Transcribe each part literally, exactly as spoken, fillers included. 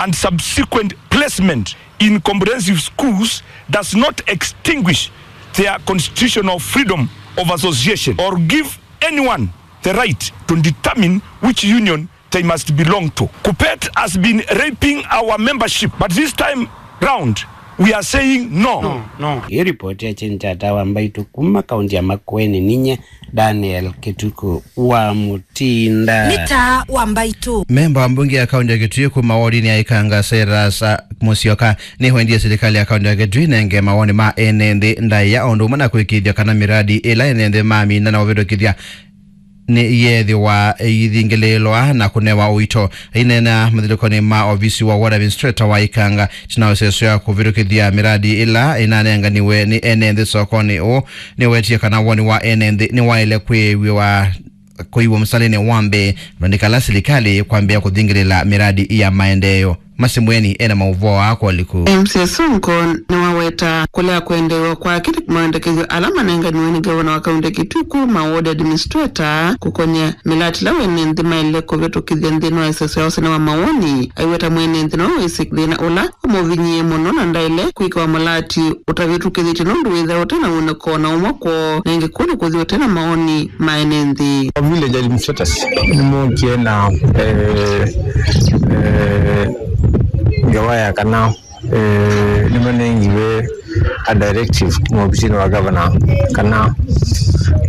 and subsequent placement in comprehensive schools does not extinguish their constitutional freedom of association or give anyone the right to determine which union they must belong to. Kuppet has been raping our membership, but this time round, we are saying no. No, no. Ĩ ripoti ya Chenchata wa Mbaitu kuma kaunti ya Makueni, ninye Daniel Kituku wa Mutinda. Nĩ taa wa Mbaitu. Memba wa mbunge ya kaunti ya Kitui kuma wodini ya Ikanga, Cyrus Musyoka, nĩwendie silikalĩ ya kaunti ya Kitui nenge mawoni ma ene nthĩ ndaĩa, ũndũ ũmwe na kũĩkĩĩthya kana mĩradi ĩla ene nthĩ mamina na ũvĩtũkĩthya nĩyeethĩwa ĩithingĩlĩĩlwa na kũnewa ũito. Aineena mathyũlũlũkonĩ ma ovisi wa ward administrator wa Ikanga, ĩtina wa ĩsesũ ya kũvĩtũkĩthya mĩradi ĩla ĩnanenganiwe nĩ ene nthĩ sokonĩ ũũ, nĩwetie kana woni wa ene nthĩ nĩwaĩle kwĩw'ĩwa, kũiw'a mũsalĩnĩ wa mbee, na nĩ kana silikalĩ kwambĩĩa kũthingĩlĩla mĩradi ya maendeeo. Masi Mweni ena maũvoo aa kwa ũliku. M C A Sonko nĩwaweta kũlea kwendeew'a kwake nĩ maendekethyo ala manenganiwe nĩ ngavana wa kaunti ya Kitui kuma ward administrator kũkony'a mĩlati ĩla ene nthĩ maĩle kũvĩtũkĩthya nthĩnĩ wa ĩsesũ ya ũsene wa mawoni. Aiweta mwene nthĩ nĩwe waisye thĩna ũla ũmũvinyĩĩe mũno na ndaĩle kwĩkĩwa mũlati ũtavĩtũkĩthĩtye nũndũ wĩthĩawa ũte na wonekano na ũmwe kwoo, na ĩngĩ kũũ nĩ kũthi ũte na mawoni ma ene nthĩ. Village administrators nĩmookie na, eh, eh, ngewa ya kana, eh, nĩmanengiwe a directive kuma ovisinĩ wa governor kana,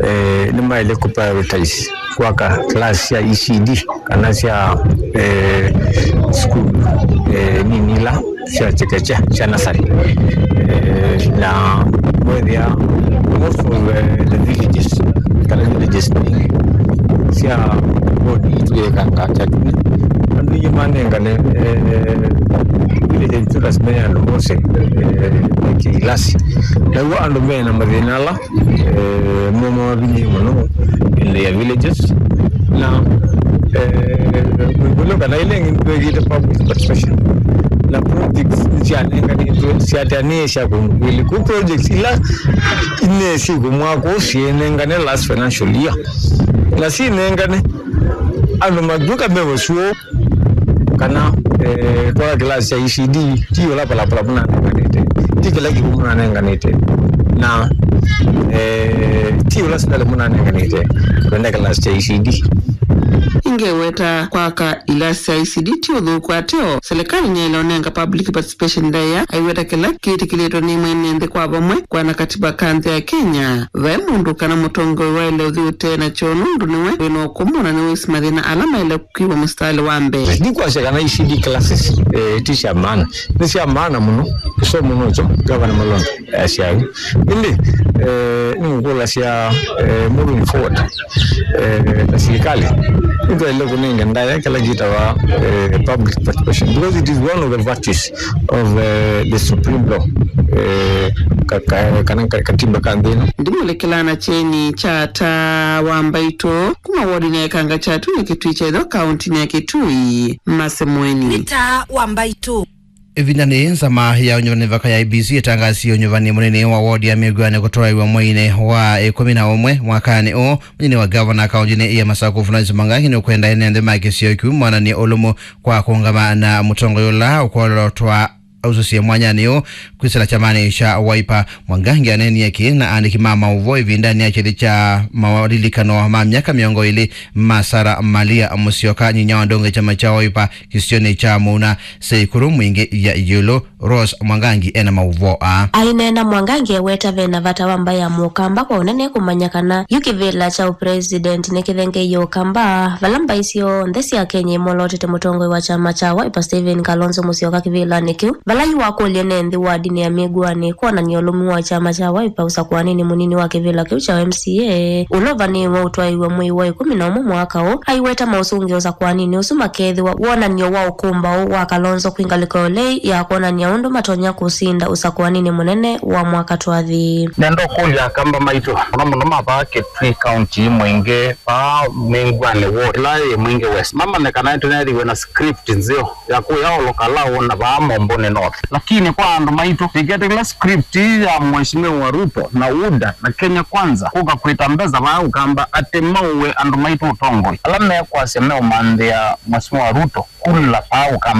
eh, nĩmaĩle kũprioritize kwaka class sya E C D kana sya, eh, school, eh, nini ila sya chekechea, sya nasarĩ. Eh, na mwethĩa most of, eh, the villages, kana villages nyingĩ sya ward itũ ya Ikanga Kyatuni, andũ aingĩ manengane, eh, village itũ lazima ya andũ mose, eh, meke ilasi. Naw'o andũ mena mathĩna ala eh, mo mavinyĩe mũno in their villages. Na, eh, mwĩkũlyo kana ĩla ĩngĩ nĩtwĩkĩte public participation. Na projects nĩsyanenganĩtwe, syateanĩe sya kũndũ kwĩlĩ. Kũ projects ila inesie kũmwakwo syĩnengane last financial year. Na sinengane, andũ matw'ĩka me ũsũo, kana, eh, twaka kĩlasi kya E C D, ti ũla palapala mũnanenganĩte, ti kĩla kĩw'ũ mũnanenganĩte, na, eh, ti ũla sindali mũnanenganĩte, twenda kĩlasi kya E C D. Ingeweta kwaka ilasi sya E C D ti ũthũku ateo, silikalĩ nĩyaĩle ũnenga public participation ndaĩa, aiweta kĩla kĩtĩkĩlĩtwe nĩ mwene nthĩ kwa vamwe, kwana katiba ka nthĩ ya Kenya. Vai mũndũ kana mũtongoi waĩle ũthi ũtee nakyo nũndũ nĩwe wĩ na ũkũmũ na nĩwĩsĩ mathĩna ala maĩle kwĩw'a mũsitalĩ wa mbee. Ndikwasya kana E C D classes, eh, ti sya maana. Nĩ sya maana mũno. Kĩsomo nokyo Gavana Malonza asyaĩ. Ĩndĩ, eh, nĩngũkũlasya, eh, moving forward, eh, ta silikalĩ, nĩtwaĩle kũnenga ndaĩa kĩla kĩtawa, eh, public participation, because it is one of the virtues of, eh, the supreme law, eh, ka, ka, kana ka, katiba ka nthĩ ĩno. Ndimũlĩkĩlaa na kyeni kya taa wa Mbaitũ kuma wodinĩ ya Ikanga Kyatuni, Kitui kya Ĩtheo, kauntinĩ ya Kitui, Mase Mweni. Nĩ taa wa Mbaitũ. Ĩvindanĩ yĩĩ, nzama ya ũnyuvani mĩvaka ya I E B C ĩtangasie ũnyuvani mũnini wa wodi ya Mĩguanĩ kũtwaĩwa mweinĩ wa ĩkũmi na ũmwe mwakanĩ ũũ. Mũnini wa gavana kauntinĩ ya Masaku, Florence Mwangangi, nĩũkwenda ene nthĩ ma kĩsio kĩu monanie ũlũmu kwa kũũngama na mũtongoi ũla ũkwolotwa ausũsye mwanyanĩ ũũ kwĩsĩla kyamanĩ kya Wiper. Mwangangi aneenie kĩĩ na aandĩki ma maũvoo ĩvindanĩ ya kĩthĩ kya malilikano ma myaka mĩongo ĩlĩ ma Sarah Malia Musyoka, nyinya wa ndonge kyama kya Wiper kĩsionĩ kya Mũuna, syĩ ĩkũlũ mwingĩ ya ĩũlũ. Rose Mwangangi ena maũvoo aa. Aineena, Mwangangi eweta vena vata wa mbaĩ ya Mũkamba kwa ũnene kũmanya kana yu kĩvĩla kya ũpresident nĩkĩthengeie Ũkamba, vala mbaĩ syonthe sya Kenya imolotete mũtongoi wa kyama kya Wiper Stephen Kalonzo Musyoka kĩvĩlanĩ kĩu, vala yu wakũlya ene nthĩ wadinĩ ya Mĩguanĩ kwonany'a ũlũmu wa kyama kya Wiper ũsakũanĩnĩ mũnini wa kĩvĩla kĩu kya M C A ũla ũvanĩĩwe ũtwaĩwe mwei wa ĩkũmi na ũmwe mwaka ũũ. Aiweta maũsũngĩo ũsakũanĩnĩ ũsu makeethĩwa wonany'o wa ũkũmbaũ wa Kalonzo kwĩ ngalĩko ya ũlei ya kwonany'a ũndũ matonya kũsinda ũsakũanĩnĩ mũnene wa mwaka twathi. Nenda ũkũlya Akamba maitũ, mũno mũno ma vaa Kitui County, Mwingĩ, vaa Mĩguanĩ ward ĩla yĩ Mwingĩ West, mamanye kana nĩtũneethĩiwe na script nzeo ya kũya Olo Kalau na vaa Momboni North. Lakini kwa andũ maitũ, ĩketĩkĩla script ya Mheshimiwa Ruto na UDA na Kenya Kwanza kũka kwĩta mbesa vaa Ũkamba atĩ maũe andũ maitũ ũtongoi. Ala mekwasya meũmanthĩa Mheshimiwa Ruto kula vaa Ũkamba.